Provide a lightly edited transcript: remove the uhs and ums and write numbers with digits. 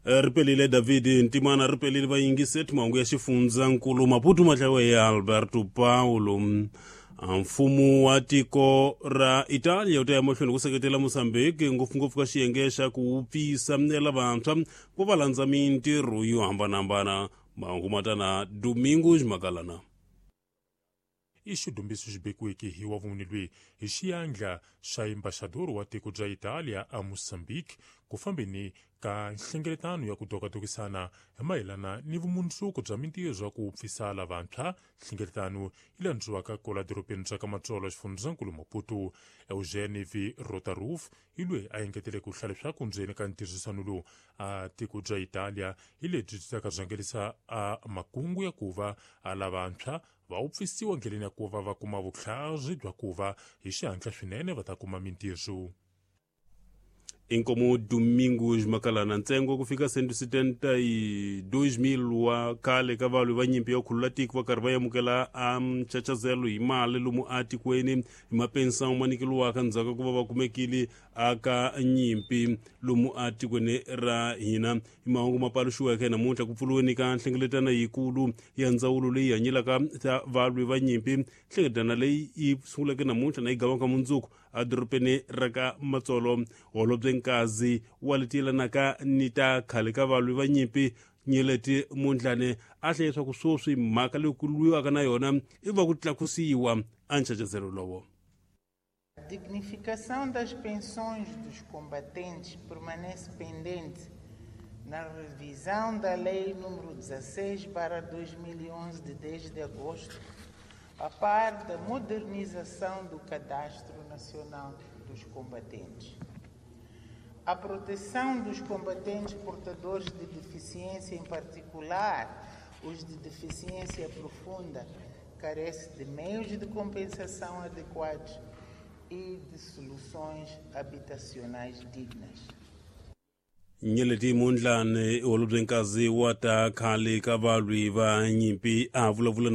Ri pelile David Ntimana, ri pelile vayingiseti mahungu ya xifundzankulu Maputo mahlawe ya Alberto Paulo. Mfumo wa tiko ra Italia wu ta ya mahlweni ku seketela Mozambique, ngopfungopfu ka xiyenge xa ku wupfisa lavantshwa ku va landza mintirho yo hambanahambana. Mahungu ma ta na Domingos Makalana. I xidumbiso xi bekiweke hi wa vumune lweyi hi xiyandla xa embaxador wa tiko bya Italia a Mozambique ku fambeni ka nhlengeletano ya ku dokadokisana hi mayelana ni vumundzuku bya mintirho ya ku pfisa lavantshwa. Nhlengeletano yi landziwaka kola dorobeni bya ka Matsolo, xifundzankulu Maputo. Eugene V Rotaroof hi loyi a engetele ku hlaya leswaku ndzeni ka ntirhisano lowu a tiko bya Italia hi lebyi byi taka rhangelisa a makungu ya ku va a lavantshwa va wupfisiwa ndleleni ya ku va va kuma vutlhari bya ku va hi xihatla swinene va ta kuma mintirho. Inkomo Domingos Makalana. Ntsengo ku fika 172 mil wa khale ka valwi va nyimpi ya khulula tiko va karhi va amukela a nchachazelo hi mali lomu atikweni hi mapensão ma nyikeliwaka ndzhaku ka ku va va kumekile aka nyimpi lomu atikweni ra hina. Hi mahungu ma paluxiweke namuntlha ku pfuriweni ka nhlengeletano yikulu ya ndzawulo leyi hanyelaka ta valwi va nyimpi. Nhlengeletano leyi yi sunguleke namuntlha na yi gavaka mundzuku edorobeni ra ka Matsolo. Holobye Nkazi wa leti yelanaka ni ta khale ka valwi va nyimpi Nyeleti Mondlane a hlaya leswaku sweswi mhaka leyi ku lwiwaka na yona i va ku tlakusiwa a nchachazelo lowo. A dignificação das pensões dos combatentes permanece pendente na revisão da Lei nº 16/2011 de 10 de agosto, a par da modernização do Cadastro Nacional dos Combatentes. A proteção dos combatentes portadores de deficiência, em particular os de deficiência profunda, carece de meios de compensação adequados e de soluções habitacionais dignas. Nyeleti Mondlane, holobye Nkazi wa ta khale ka valwi va nyimpi, a vulavula.